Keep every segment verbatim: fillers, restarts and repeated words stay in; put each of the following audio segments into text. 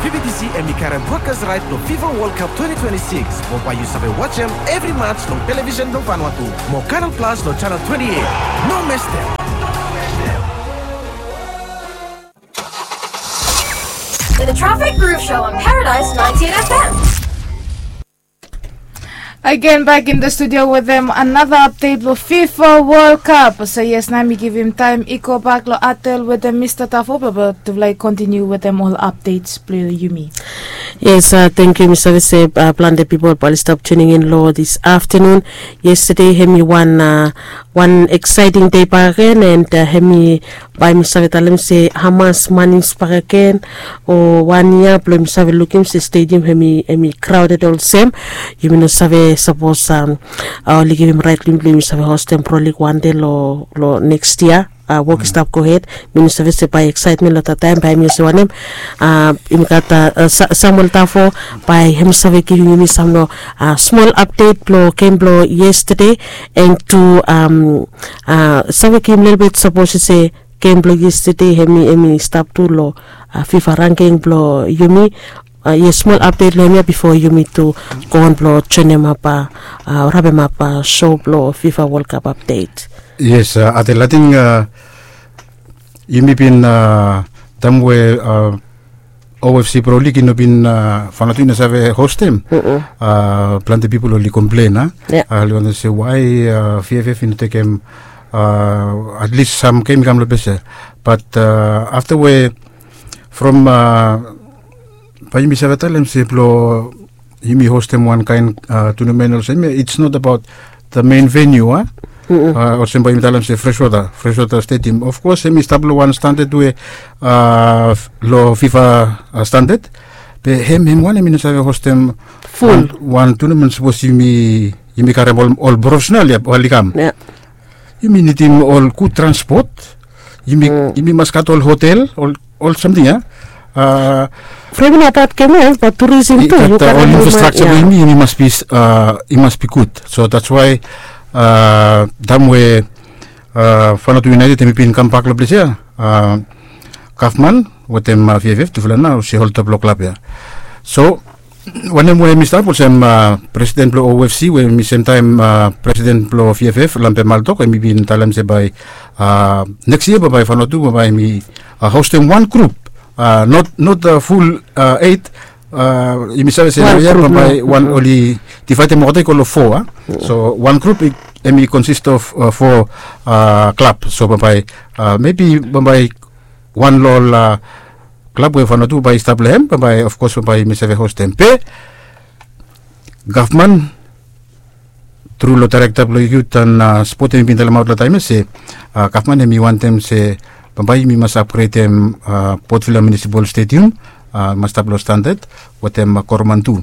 B T C em i karem broadcast right long FIFA World Cup twenty twenty-six. Mo bae yu save wajem evri match long television blong Vanuatu. Mo Canal Plus long channel twenty-eight. No mestem. The Traffic Groove Show on Paradise ninety-eight F M. Again, back in the studio with them another update for FIFA World Cup. So yes, nao mi givim taem i go bak long Atel wetem Mista Tafo blong tufala i kontiniu wetem ol updates blong yumi. Yes, uh, thank you, Mista Vese. Uh, plante pipol bae oli stap tuning in long this afternoon. Yesterday, hem i wan uh, wan exciting day back again, and uh, hem i bae mi save talem se Hamas manis bakegen o wan yia blong yumi save lukim se stadium hemi hemi crowded olsem. Yumi no save sapos um, uh, oli givim rait blong yumi blong yumi save hostem Pro League wan dei lo lo next year. Uh, wok i stap gohed. Mi no save se bae excitement lo that taem bae hemi olsem wanem. Uh, yumi gat uh, uh, Sa- Samuel Tafo bae hemi save givim yumi sam lo uh, small update blo game blo yesterday, and to um, uh, save givim lelebet sapos i se game blong yesterday hemi hemi stap tu long uh, FIFA ranking blong yumi. Uh, yes, small update long hemia before yumi tu go on blong joinemap uh, uh, wrapemap uh, show blong FIFA World Cup update. Yes, uh, Adel, I think uh, yumi bin uh, taem we uh, O F C Pro League i no bin uh, Vanuatu i no save hostem. Uh, plante pipol oli komplen a. Yeah. Uh, oli wantem se why uh, V F F i no tekem uh, at least sam game i kam long ples ia. But uh, after we from uh, bae yumi save talem se blo yumi hostem wan kaen uh, tournament olsem ia, it's not about the main venue a. Uh, olsem bae yumi talem se Freshwater, Freshwater Stadium. Of course hemi stap lo wan standard we uh, lo FIFA uh, standard. Be hem hem wan hemi no save hostem ful wan, wan tournament sapos yumi yumi karem ol, ol professional ia oli kam. Yeah. Yumi nidim ol gud transport. Yumi mm. Yumi mas gat ol hotel, ol ol samting ia. Uh, from na that game ia, but tourism tu. Yu gat ol infrastructure blong yumi, yumi mas be uh, i mas be gud. So that's why uh, taem we uh, Vanuatu United hemi bin kambak long ples ia. Uh, gavman wetem uh, V F F tufala nao se holtap long klab ia. So wanem we mi stap olsem uh, presiden blong O F C we mi semtaem uh, presiden blong V F F Lampe Maltok, hemi bin talem se bae uh, next year bae bae Vanuatu bae bae hemi uh, hostem wan grup. Uh, not not uh, full uh, eight. Uh, yumi save se naoia bae bae wan oli divaedem olgeta i go long fo a. So wan grup hemi consist of uh, fo uh, klab. So bae bae uh, maybe bae bae wan long ol uh, klab we Vanuatu bae i stap long hem, bae bae of course bae bae yumi save hostem. Be gavman tru long daerekta blong yut an uh, spot hemi bin talemaot long taem ia se uh, gavman hemi wantem se bambae yumi mas apgredem uh, Port Vila Municipal Stadium uh, mas stap long standard wetem uh, Koroman tu.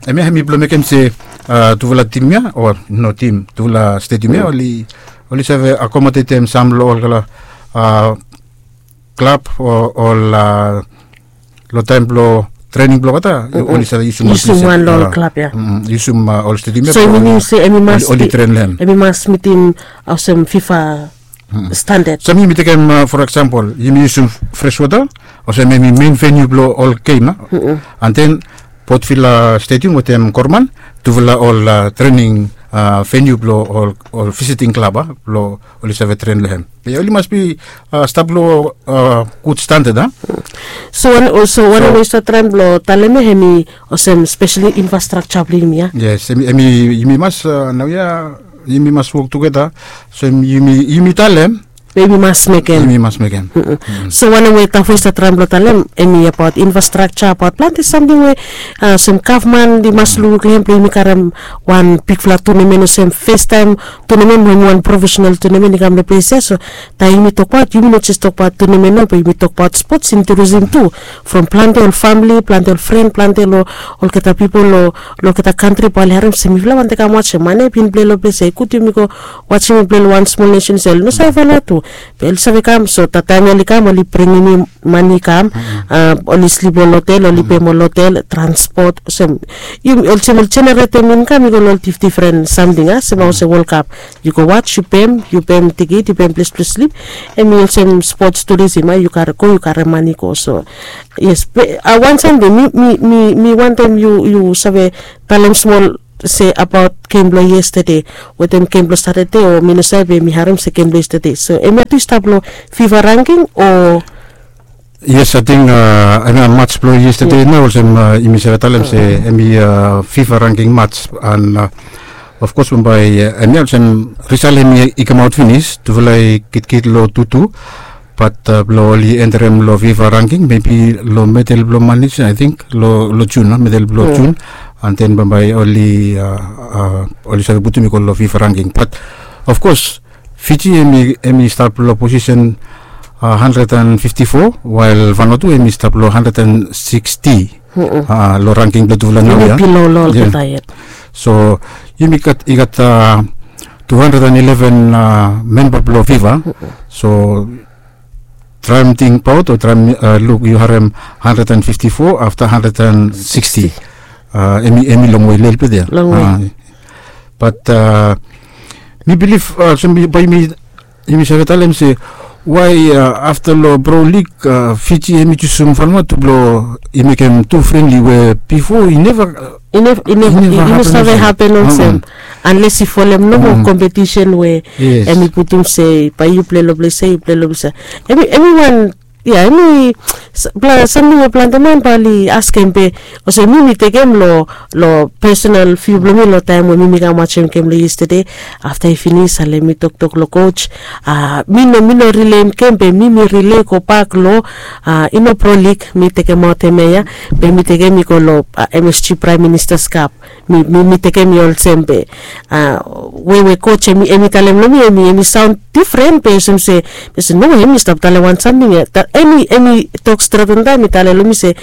Hemia hemi blong mekem se uh, tufala tim ia o no tim, tufala stadium ia oli oli save akomodetem sam long olgeta uh, klab o ol uh, long taem blong trening blong olgeta oli save yusum ol klab ia, yusum ol stadium ia. So i minim se hemi mas oli tren long hem, hemi mas mitim olsem FIFA standard. So yumi tekem uh, for example yumi yusum Freshwater olsem hemi main venue blong ol game a. And then Port Vila Stadium wetem Koroman tufala ol uh, trening uh, venue blong ol, ol visiting klab a blong oli save tren long hem. Be oli mas be uh, stap long uh, gud standard a. So wanem we yu save traem blong talem ia hemi olsem speseli infrastructure blong yumi ia. Yes, hemi yumi mas uh, naoia yumi mas wok tugeta. So yumi yumi talem be yumi mas mekem, yumi mas mekem. So wanem we Tafo i save traem blong talem hemi abaot infrastructure, abaot plante samting we uh, olsem gavman i mas lukluk long hem blong yumi karem wan bigfala tournament olsem festaem tournament mo hemi wan professional tournament i kam long ples ia. So taem yumi tokbaot, yumi no jes tokbaot tournament nao be yumi tokbaot sports and tourism tu. From plante ol famili, plante ol fren, plante lo olgeta pipol lo olgeta kantri bae oli harem se mifala wantem kam wajem. Mane bin plei long ples ia, i gud yumi go wajem i plei long wan smol nesen se oli no save Vanuatu. Be oli save kam, so taem oli kam oli bringim mane i kam. Oli slip long hotel, oli pem ol hotel, transpot, olsem, olsem oli jeneretem inkam i go long ol difdifren samting a sem olsem World Cup. Yu go waj, yu pem, yu pem tikit, yu pem ples blong slip. Em i olsem spots turisim a, yu kare go, yu kare mane go. So yes, be wan samting mi mi mi wantem yu yu save talem smol se abaot gem blong yestede wetem gem blong satade, o mi no save be mi harem se gem blong yestede. So em ya tu i stap long fifa ranking o? Yes, ating em ya mats blong yestede na, olsem yumi save talem se em i fifa ranking mats. And of kos bambae em ya olsem risal em i kamaot finis, tufala i gitkit long tutu. Bat blong oli enterem long fifa ranking mebi long medel blong manis, ating long jun a, medel blong jun. And then bambae oli oli save putum i go long fifa ranking. Bat of kos fiji em i stap long posisen handred and fifti fo, wael vanua tu em i stap long handred and siksti. Long ranking blong tufala nau ya. So yumi gat i gat tu handred and ileven memba blong fifa. So traem tingbaot o traem luk yu harem handred and fifti fo afta handred and siksti. Em i longwe lelebet ya. Bat mi bilif olsem bae yumi save talem se wae afta long pro lig fiji em i jusum vanua tu blong i mekem tu frenli we bifo i neva i no save hapen olsem. Anles i folem nomo kompetisen we em i putum se bae yu plei long ples ya, yu plei long ples ya. Em i wan ya em i samting we plante man bae oli askem be olsem mi mi tekem long long pesonal viu blong mi long taem we mi mi kam wajem gem long yestede. Afta i finis ale mi toktok long koj, mi no mi no rileim gem be mi mi rilei gobak long i no pro lig mi tekemaot em ya ya. Be mi tekem i go long msg praem ministas kap. Mi mi tekem i olsem be we we koj em i talem long mi em i saon difren be olsem se, be olsem no em i stap talem wan samting ya. Em i tok stret on taem i talem long mi se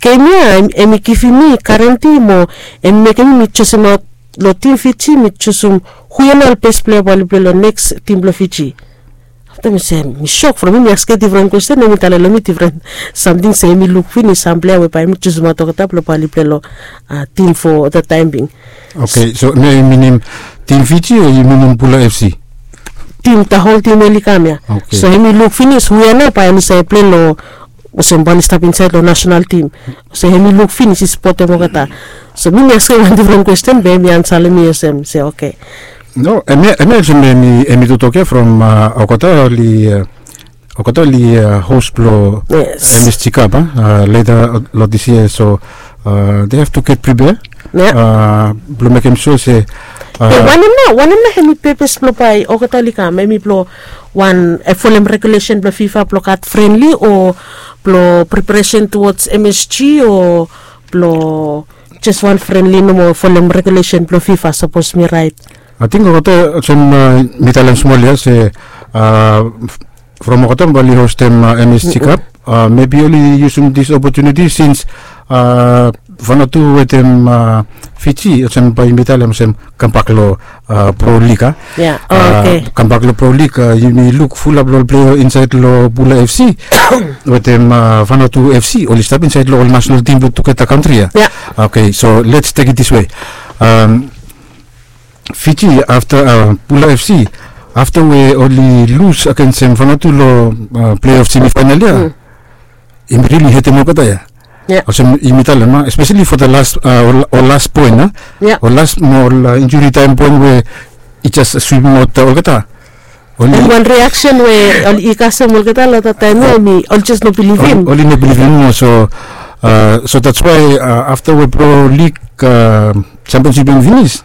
gem ya em i givim mi garanti mo em i mekem mi mi jusum aot long tim fiji mi jusum hu ya nao ol bes plea bae oli plei long neks tim blong fiji. Afta mi se mi sok from mi mi askem difren kwesten em i talem long mi difren samting se em i luk finis sam plea we bae em i jusum aot olgeta blong bae oli plei long tim fo olgeta taem bing. Oke, so em ya i minim tim fiji o i minim pula fc? Tim ta hol tim oli kam ya. So em i luk finis hu ya nao bae oli save plei long olsem bae oli stap insaed long nasenal tim. So em i luk finis i spotem olgeta. So mi mi askem wan difren kwesten be em i ansalem mi olsem se oke. No, em ya em ya olsem em i totok ya from olgeta oli olgeta oli hos blong msg kap a leta long dis yia. So they have to get prepare blong mekem sua se wanem nao wanem nao em i pepes blong bae olgeta oli kam em i blong wan folem regulesen blong fifa blong gat frenli o blong preparesen tuods msg o blong jes wan frenli nomo folem regulesen blong fifa sapos mi raet? Ating olgeta olsem mi talem smol ya se from olgeta bae oli hostem msg kap mebi oli yusum dis opotuniti sins vanua tu wetem fiji olsem bae yumi talem olsem kambak long pro lig a. Kambak long pro lig yumi luk fulap long ol plea insaed long pula fc wetem vanua tu fc oli stap insaed long ol nasenal tim blong tugeta kantri ya. Oke, so lets tek it dis we fiji afta pula fc afta we oli lus agensem vanua tu long pleof semifaenal ya. Yumi rili hetem olgeta ya. Olsem yumi talem a espeseli fo da las ol las poen a ol las mo ol injuri taem poen we i jes swipim aot olgeta. Oli wan riaksen we oli kasem olgeta long da taem ya em i oli jes no bilivim. Oli no bilivim mo so so dats wae afta we pro lig sempionsip em finis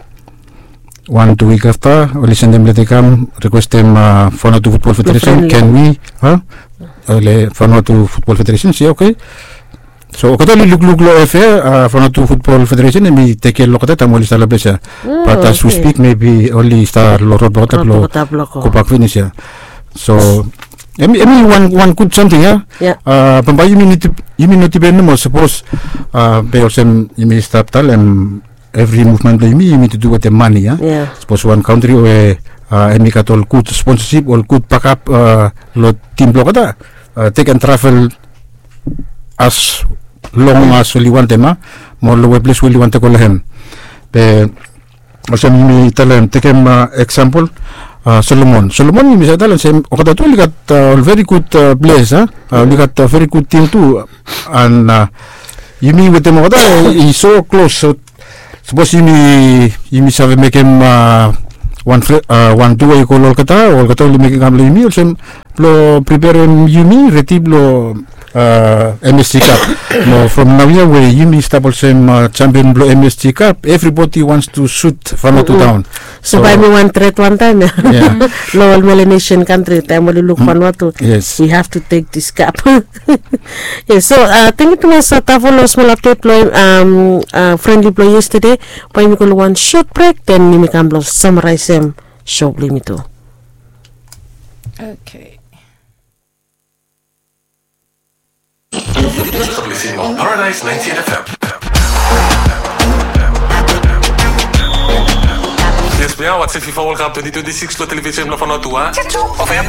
wan tu wik afta oli sendem leta i kam rikwestem fanatu futbol federesen ken wi a? Fanatu futbol federesen se oke. So olgeta oli lukluk long efe fanatu futbol federesen em i tekem olgeta taem oli stap long ples ya. Bat as we spik mebi oli stap long rod blong olgeta blong gobak finis ya. So em i wan gud samting ya. Bambae yumi no dipen nomo sapos be olsem yumi stap talem evri muvmen blong yumi yumi tu du wetem mane ya. Sapos wan kantri we Hemi gat ol gud sponsasip, ol gud bakap long tim blong olgeta. Dei ken travel as long as oli wantem, a, mo long we ples we oli wantem go long hem. Be olsem yumi talem, tekem eksampol, Solomon. Solomon yumi save talem olsem olgeta tu oli gat ol veri gud ples, a, oli gat veri gud tim tu. And yumi wetem olgeta i so klos. So sapos yumi save mekem wan tu we i go long olgeta, olgeta oli mekem kam long yumi olsem blong preperem yumi redi blong MSG Cup. Mo from naoia we yumi stap olsem champion blong MSG Cup, everybody wants to shoot Vanuatu down. So bae mi wan tret wantaem ya, long ol Melanesian kantri, taem oli luk Vanuatu, we have to take this cup. Yes, so tangkiu tumas Tavo long smol apdet blong hem, friendly blong yestede. Bae yumi go long wan sot brek, then yumi kam blong samaraesem so blong yumi tu. Okay. Paradise ninety-eight F M. Yes, we are watching FIFA World Cup twenty twenty-six long television blong Vanuatu, a? F M.